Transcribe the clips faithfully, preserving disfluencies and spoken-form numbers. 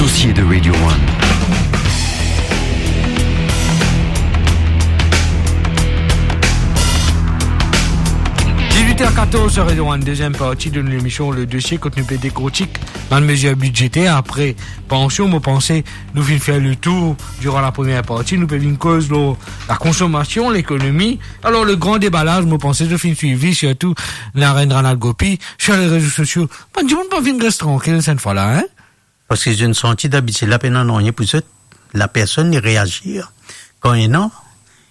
Dossier de Radio One. Dix-huit heures quatorze sur Radio One, deuxième partie de l'émission, le dossier, kot nou pe dekrotik bann mezir bidzeter. Apre pansion, mo panse nou finn fer le tour diran la première partie. Nou pe vinn koz lor la konsomasion, lekonomi. Alor, le gran debalaz, mo panse nou finn swiv li, sirtou Narendranath Gopi, sur les réseaux sociaux. Bann dimoun pa vinn res trankil, sennfwa la, hein? Parski zot inn santi dabitid la pena nanye pou zot. La personn li reazir. Kan ena,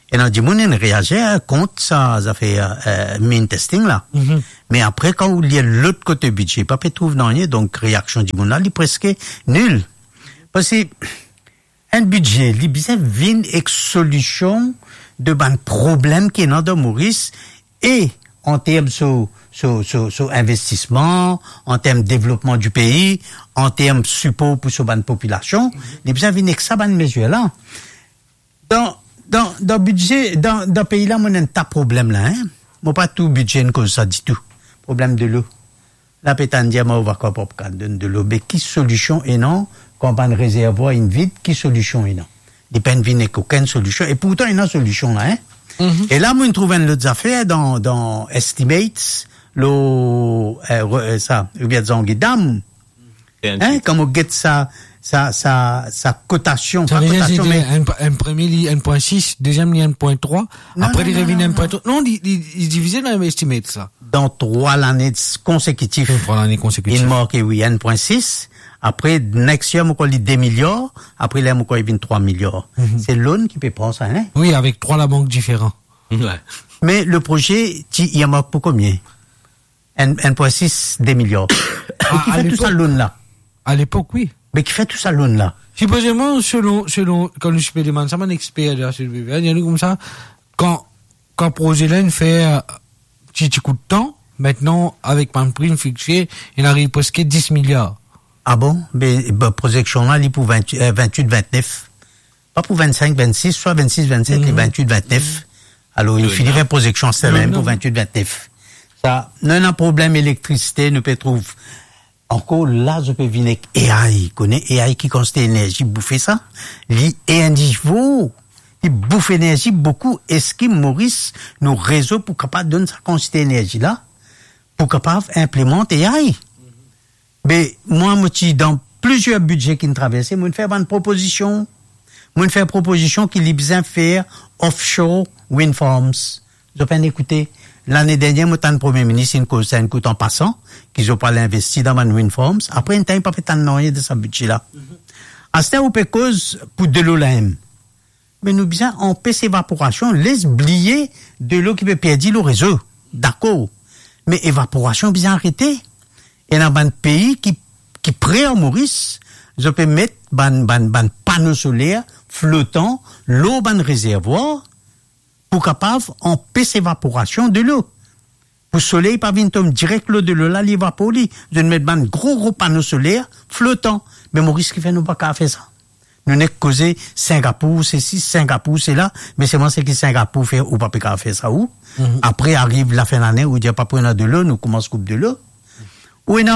ena dimoun inn reazir kont sa zafer, eh, mean testing la. Mhm. Me apre, kan ou lir lot kote bidze, pa pe trouv nanye, donk reaksion dimoun la, li preske nil. Parski enn bidze, li bizin vinn ek solision de bann problem ki ena dan Moris, e an term so, so, so, so investisman, an term devlopman di pei, an term sipor pou so bann popilasion, li bizin vinn ek sa bann mezir la. Dan, dan, dan bidze, dan, dan pei la, mo ena enn ta problem la, hein. Mo pa tou bidze inn koz sa ditou. Problem delo. La pe tann dir, mo va kapab donn delo. Me ki solision ena, kan bann rezervwar inn vid, ki solision ena? Li pa'nn vinn ek okenn solision, e pourtan ena solision la, hein? Mhm. E la, mo trouv enn lot zafer dan, dan estimates, lor, eh, re-, eh, sa, Rivière des Anguilles Dam. Hein, kan mo get sa, sa, sa, sa kotasion, sa pa kotasion, me enn, enn premie, li enn pwin sis, deziem, li enn pwin trwa, non, apre, non, li non, revinn non, enn pwin trwa. Non, li, li, li divize dan estimates la. Dan trwa lane konsekitif. Trwa lane konsekitif. Li marke, wi, enn pwin sis. Apre, next year, mo krwar li de miliar. Apre, la, mo krwar li vinn trwa miliar. Mhm. Se loan ki pe pran sa, hein? Wi, avek trwa labank diferan. Wi. Me le proze, ti, li mark pou konbien? Enn, enn pwin sis, de miliar. Me ki fer tou sa loan la? A lepok, wi. Me ki fer tou sa loan la? Sipozeman, selon, selon, kan nou ti pe demann sa bann exper de la C D B V, dir nou koumsa, kan, kan proze la inn fer ti, ti kout tan, aster, avek bann prim fixe, li ariv preske dis miliar. Ah bon? Be, be, prozeksion la, li pou vin, eh, vintwit, vintnef. Pa pou vennsenk, vennsis, swa vennsis, vennset, li vintwit, vintnef. Alor, inn fini fer prozeksion aster mem pou vintwit, vintnef. Sa, nou ena problem elektrisite, nou pe trouv. Ankor la, zot pe vinn ek A I, kone A I ki kantite enerzi boufe sa? Li e nivo, li bouf enerzi boukou. Eski Moris, nou rezo pou kapav donn sa kantite enerzi la, pou kapav inplimant A I? Be, mwa, mo ti dan plizier bidze ki'nn traverse, mo'nn fer bann propozision. Mo'nn fer propozision ki li bizin fer offshore wind farms. Zot pa'nn ekoute. Lane dernier, mo tann Premie Minis inn koz sa enn kout an pasan, ki zot pou al investi dan bann wind farms. Apre enn tan, pa pe tann nanye de sa bidze la. Aster, ou pe koz pou delo la mem. Me nou bizin anpes evaporasion, les bliye delo ki pe perdi lor rezo. Dakor. Me evaporasion bizin arete. Ena bann pei ki, ki pre ar Moris, zot pe met bann, bann, bann pano soler flotan lor bann rezervwar pou kapav anpes evaporasion delo. Pou soley pa vinn tom direk lor delo la, li evapor li. Zot met bann gro, gro pano soler flotan. Me Moris, ki fer nou pa kapav fer sa? Nou nek koze Singapour sesi, Singapour sela, me selman seki Singapour fer, ou pa pe kapav fer sa, ou. Mhm. Apre, ariv lafin lane, ou dir pa pou ena delo, nou koumans koup delo. Ou ena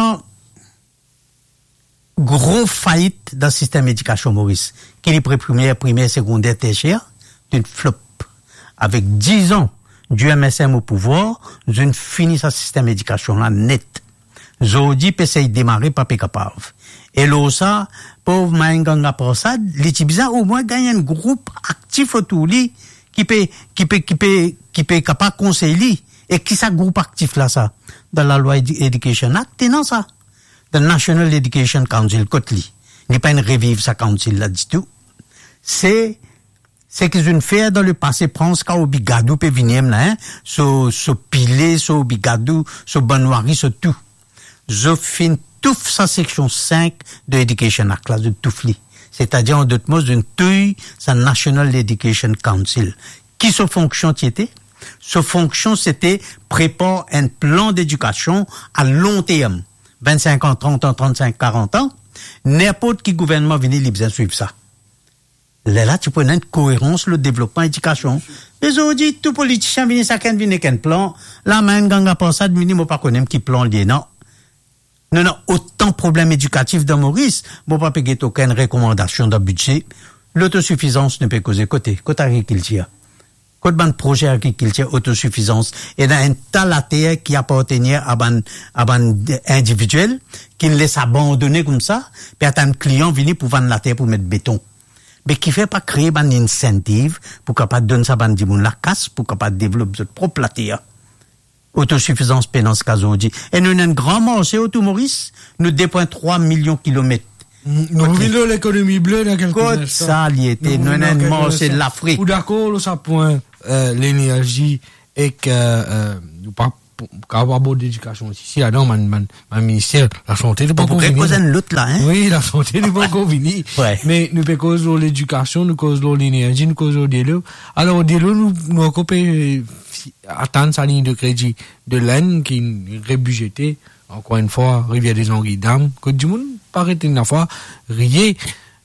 gro fait dan sistem edikasion Moris, ki li pre primer, primer, segonder, tersier, zot inn flop. Avek diz an di M S M o pouvwar, zot inn fini sa sistem edikasion la net. Zordi pe sey demare, pa pe kapav. E lor sa, pov Main Ganga Prasad, li ti bizin omwin gagn enn group aktif otour li, ki pe, ki pe, ki pe, ki pe kapav konsey li. E ki sa group aktif la sa? Dan lalwa Edu-, Education Act, ena sa. The National Education Council, kot li? Li pa'nn reviv sa council la ditou. Se, seki zot inn fer dan lepase, pran sa Obigadou pe vini mem la, hein? So, so Pillay, so Obigadou, so Banwari, so tou. Zot finn touf sa seksion sink de Education Act la, zot touf li. Setadir, an dot mo, zot inn touy sa National Education Council. Ki so fonksion ti ete? So fonksion, sete prepar enn plan dedikasion a lon term, vennsink an, trant an, trannsink, karant an. Ninport ki gouvernman vini, li bizin swiv sa. Lerla ti pou ena enn koerans lor devlopman edikasion. Me zordi, tou politisien vini, sakenn vini ek enn plan. La, Main Ganga Prasad vini, mo pa kone mem ki plan li ena. Nou ena otan problem edikatif dan Moris, mo pa pe get okenn rekomandasion dan bidze. Lotosifizans, nou pe koze kote? Kot agrikiltir? Kot bann proze agrikiltir, otosifizans? Ena enn ta later ki apartenir a bann, a bann individiel, ki les abandone koumsa, pe atann klian vini pou vann later pou met beton. Me kifer pa kree bann insentiv pou kapav donn sa bann dimoun la kas pou kapav devlop zot prop later? Otosifizans pena ziska zordi. E nou ena enn gran marse otour Moris, nou de pwin trwa milion kilomet. Nou revinn lor lekonomi ble dan kelke instan. Kot sa li ete? Nou ena enn marse Lafrik. Ou dakor lor sa pwin, eh, lenerzi ek, eh, eh, nou pa pou, kapav abord ledikasion osi, si ladan bann, bann, bann minister, lasante nou pa ankor vini. Wi, lasante nou pa ankor vini. Me nou pe koz lor ledikasion, nou koz lor lenerzi, nou koz lor delo. Alor, delo, nou, nou ankor pe, eh, atann sa lign de kredi de Lenn ki rebizete, ankor enn fwa, Rivière des Anguilles Dam, kot dimoun pa ret enn fwa riye.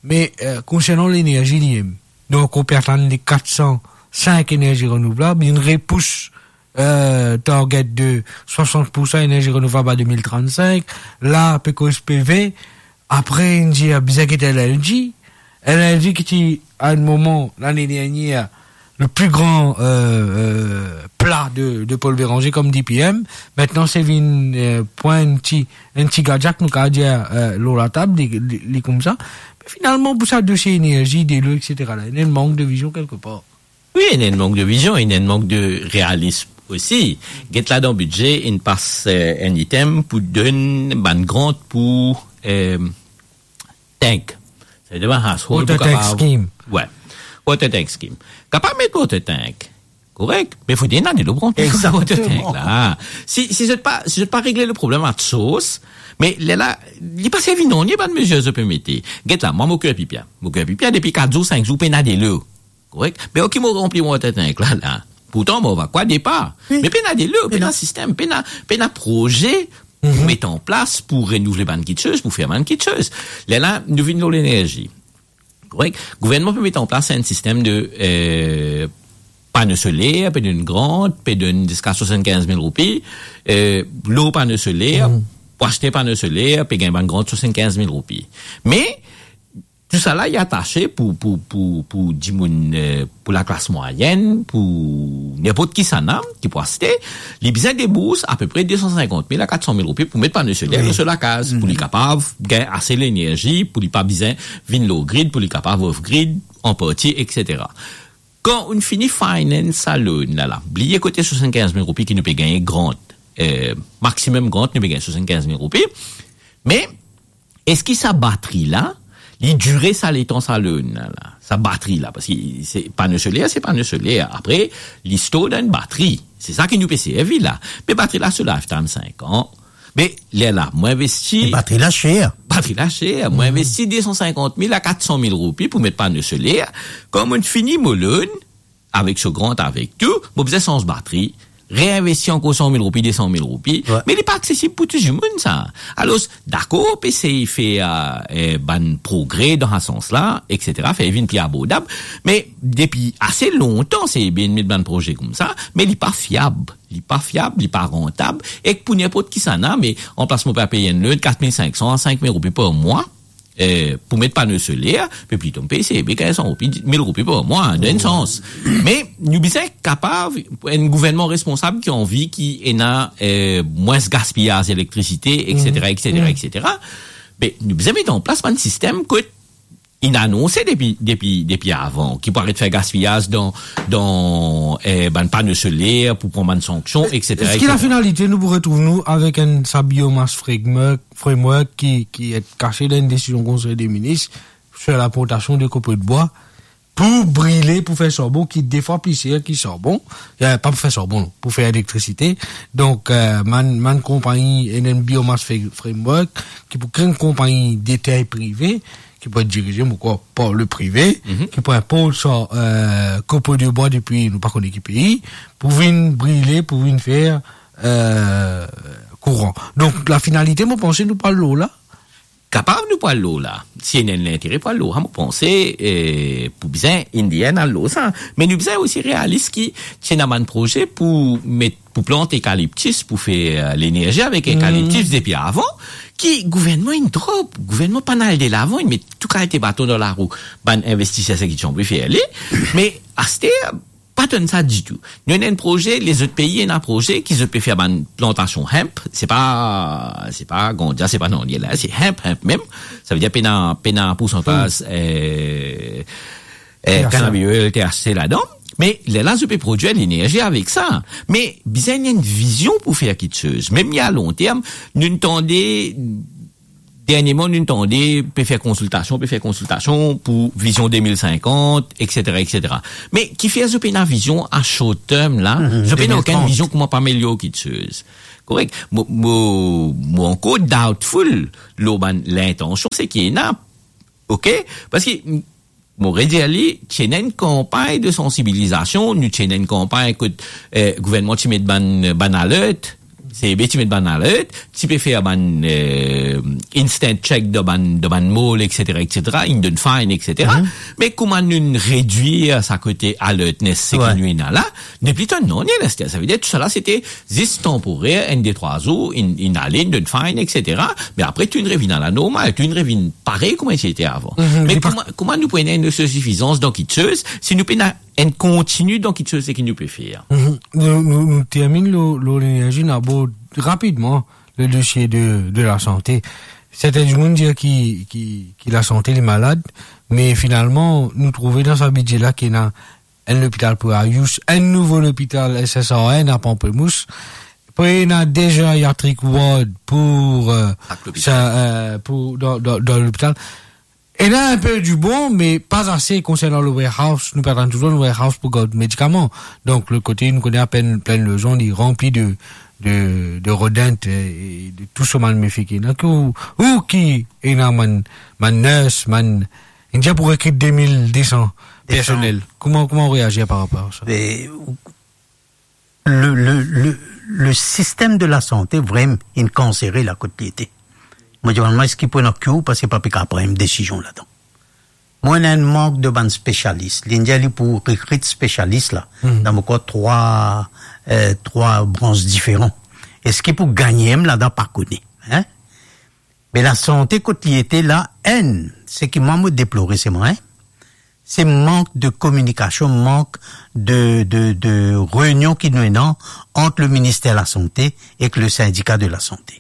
Me, eh, konsernan lenerzi li mem, nou ankor pe atann le kat san sink enerzi renouvlab, inn repous, eh, target de swasant pou san enerzi renouvlab a de mil trannsink, la pe koz pe vin, apre inn dir bizin get L N G, L N G ki ti, a enn moman, lane dernier, le pli gran, eh, eh, pla de, de Paul Bérenger kom D P M, mintnan se vinn, eh, pran enn ti, enn ti gadyak, nou kapav dir, eh, lor latab, li, li, li koumsa. Me finalman, pou sa dosie enerzi, delo, et cetera la, ena enn mank de vizion kelkepar. Wi, ena enn mank de vizion, ena enn mank de realism osi. Get la dan bidze, inn pas, eh, enn item pou donn bann grant pou, eh, tank. Sa vedir bann household pou kapav... Water tank scheme. Wi. Water tank scheme. Kapav met water tank. Korek. Me fode ena delo pou ranpli water tank la. Si, si zot pa, si zot pa regle le problem at source, me lerla, li pa servi nanye bann mezir zot pe mete. Get la, mwa mo kwiy pipia. Mo kwiy pipia depi kat zour, sink zour, pena delo. Korek? Me ok, mo ranpli mo water tank la, la. Pourtan, mo evakwe depa. Me pena delo, pena sistem, pena, pena proze pou met an plas, pou renouvle bann kiksoz, pou fer bann kiksoz. Lerla, nou vinn lor lenerzi. Korek? Gouvernman pe met an plas enn sistem de, eh, pano soler, pe donn grant, pe donn ziska swasannkinz mil roupi, eh, lor pano soler, pou aste pano soler, pe gagn bann grant swasannkinz mil roupi. Me, tousala, li atase pou, pou, pou, pou dimoun, eh, pou laklas mwayenn, pou ninport kisannla ki pou aste, li bizin debours apepre de san sinkant mil a kat san mil roupi pou met pano soler lor so lakaz, pou li kapav gagn ase lenerzi, pou li pa bizin vinn lor grid, pou li kapav off grid, an parti, et cetera. Kan ou'nn fini finance sa loan la, la, bliye kote swasannkinz mil roupi ki nou pe gagne grant, eh, maximum grant, nou pe gagne swasannkinz mil roupi, me eski sa batri la, li dire sa letan sa loan la, la? Sa batri la, parski se pano soler, se pano soler. Apre, li store dan enn batri. Se sa ki nou pe servi la. Me batri la, so lifetime sink an. Me lerla, mo investi... Me batri la ser. Batri la ser. Mo investi de san sinkant mil a kat san mil roupi pou met pano soler. Kan mo'nn fini mo loan, avek so grant, avek tou, mo bizin sanz batri, reinvesti ankor san mil roupi, de san mil roupi, me li pa aksesib pou tou dimoun sa. Alor, dakor, pe sey fer, eh, bann progre dan sa sans la, et cetera, fer vinn pli abordab, me depi ase lontan, sey bien met bann proze koumsa, me li pa fiab, li pa fiab, li pa rantab, ek pou ninport kisannla, me anplas mo pe pey enn loan kat mil sink san a sink mil roupi par mwa, eh, pou met pano soler, me plito mo pey sey bien kinz san roupi, mil roupi par mwa, dan enn sans. Me nou bizin kapav, enn gouvernman responsab ki anvi ki ena, eh, mwins gaspiyaz elektrisite, et cetera, et cetera, et cetera. Me nou bizin met an plas bann sistem kot inn anonse depi, depi, depi avan, ki pou aret fer gaspiyaz dan, dan, eh, bann pano soler, pou pran bann sanksion, et cetera, et cetera. Eski la finalite nou pou retrouv nou avek enn sa biomass framework, framework ki, ki et kase dan enn desizion Konsey de Minis sur l'importation de copeaux de bois pou brile, pou fer sarbon, ki de fwa pli ser ki sarbon, eh, pa pou fer sarbon, non, pou fer elektrisite. Donk, eh, bann, bann konpagni, enn biomass fra-, framework, ki pou kre enn konpagni de tay prive, ki pou et dirize, mo krwar, par le prive, ki pou inport sa, eh, copeaux de bois depi nou pa kone ki pei, pou vinn brile, pou vinn fer, eh, kouran. Donk, la finalite, mo panse nou pou al lor la. Kapav nou pou al lor la. Si ena enn lintere pou al lor la, mo panse, eh, pou bizin, in the end, al lor sa. Me nou bizin osi realis ki ti ena bann proze pou met, pou plant ekaliptis, pou fer, eh, lenerzi avek ekaliptis depi avan, ki gouvernman inn drop, gouvernman pa'nn al delavan, inn met tou kalite baton dan larou bann investiser seki ti anvi fer li, me aster, pa tann sa ditou. Nou ena enn proze, lezot pei ena proze ki zot pe fer bann plantasion hemp, se pa, se pa gandja, se pa nanye la, se hemp, hemp mem. Savedir pena, pena poursantaz, eh, eh, cannabis oil, T H C ladan. Me lerla zot pe prodwir lenerzi avek sa. Me bizin enn vizion pou fer kiksoz. Mem li a lonterm, nou tande dernieman, nou tande pe fer konsiltasion, pe fer konsiltasion pou vizion de mil sinkant, et cetera, et cetera. Me kifer zot pena vizion a short term la, zot pena okenn vizion kouma pe amelior kiksoz. Korek? Mo, mo, mo ankor doubtful lor bann lintansion seki ena, ok? Parski mo redir li, ti ena enn kanpagn de sansibilizasion, nou ti ena enn kanpagn kot, eh, gouvernman ti met bann, bann alert, CEB ti met bann alert, ti pe fer bann, eh, instant check dan bann, dan bann mall, et cetera, et cetera, inn donn fine, et cetera. Me kouma nou redwir sa kote alertness seki nou ena la, nepli tann nanye, laster. Savedir tou sa la, sete zis tanporer, enn, de, trwa zour, inn, inn ale, inn donn fine, et cetera. Me apre, tou inn revinn a la normal, tou inn revinn parey kouma ti ete avan. Me kouma, kouma nou pou ena enn autosifizans dan kiksoz, si nou pena enn kontini dan kiksoz seki nou pe fer? Nou, nou, nou terminn lor, lor lenerzi, nou abord rapidman le dosie de, de lasante. Sertin dimoun dir ki, ki, ki lasante li malad, me finalman, nou trouve dan sa bidze la ki ena enn lopital pou Ayush, enn nouvo lopital S S R N a Pamplemousse. Apre, ena de geriatric ward pou, eh, sa, eh, pou, dan, dan, dan lopital. Ena enn pe dibon, me pa ase konsernan le warehouse. Nou pe atann touzour le warehouse pou gard medikaman. Donk, lot kote, nou kone apenn Plaine Laujon, li ranpli de, de, de rodent, eh, e de tou so malmefik. Donk, ou, ou ki ena bann, bann nurse, bann, inn dir pou rekrit de mil de san personel. Kouma, kouma ou reazir par rapor a sa? Be, le, le, le, le sistem de lasante vremem inn kansere la kot li ete. Mo dir bann mwa, eski pou ena ki ou, parski pa pe kapav pran enn desizion ladan. Mo ena enn mank de bann spesialis. Li dir li pou rekrit spesialis la, dan mo krwar trwa, eh, trwa brans diferan. Eski pou gagne mem ladan, pa kone, hein? Me lasante kot li ete la, enn, seki mwa mo deplore selman, hein, se mank de kominikasion, mank de, de, de reynion ki nou ena ant le Minister Lasante ek le Sindika de Lasante.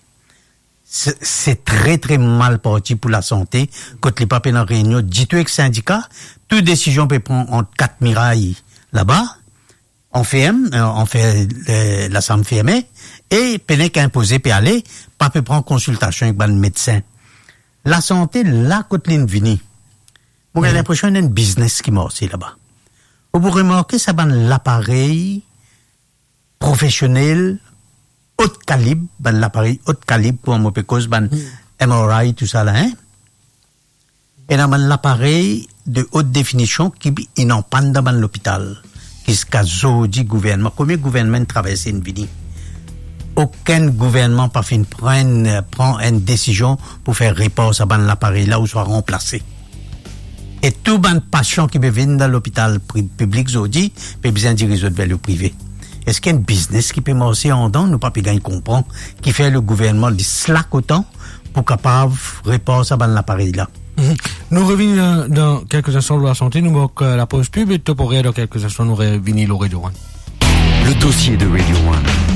Se, se tre, tre mal parti pou lasante, kot li pa pena reynion ditou ek sindika, tou desizion pe pran ant kat miray laba, anferm, eh, anfer, eh, lasam ferme, e pena ki inpoze pe ale, pa pe pran konsiltasion ek bann medsin. Lasante la kot li'nn vini, mo gagn linpresion ena enn biznes ki marse laba. Ou pou remarke sa bann laparey profesionel, ot kalib, bann laparey ot kalib, kouma mo pe koz bann M R I, tou sa la, hein? Ena bann laparey de ot definision ki inn an pann dan bann lopital. Ziska zordi gouvernman, komie gouvernman inn traverse, inn vini? Okenn gouvernman pa finn pran, pran enn desizion pou fer repar sa bann laparey la ouswa ranplase. E tou bann pasian ki pe vinn dan lopital pri-, piblik zordi, pe bizin diriz zot ver le prive. Eski enn biznes ki pe marse andan, nou pa pe gagn konpran, kifer le gouvernman li slak otan pou kapav repar sa bann laparey la? Mhm. Nou revini dan, dan kelke instan lor lasante, nou mark, eh, lapoz pib e Top Horaire dan kelke instan, nou revini lor Radio One. Le dossier de Radio One.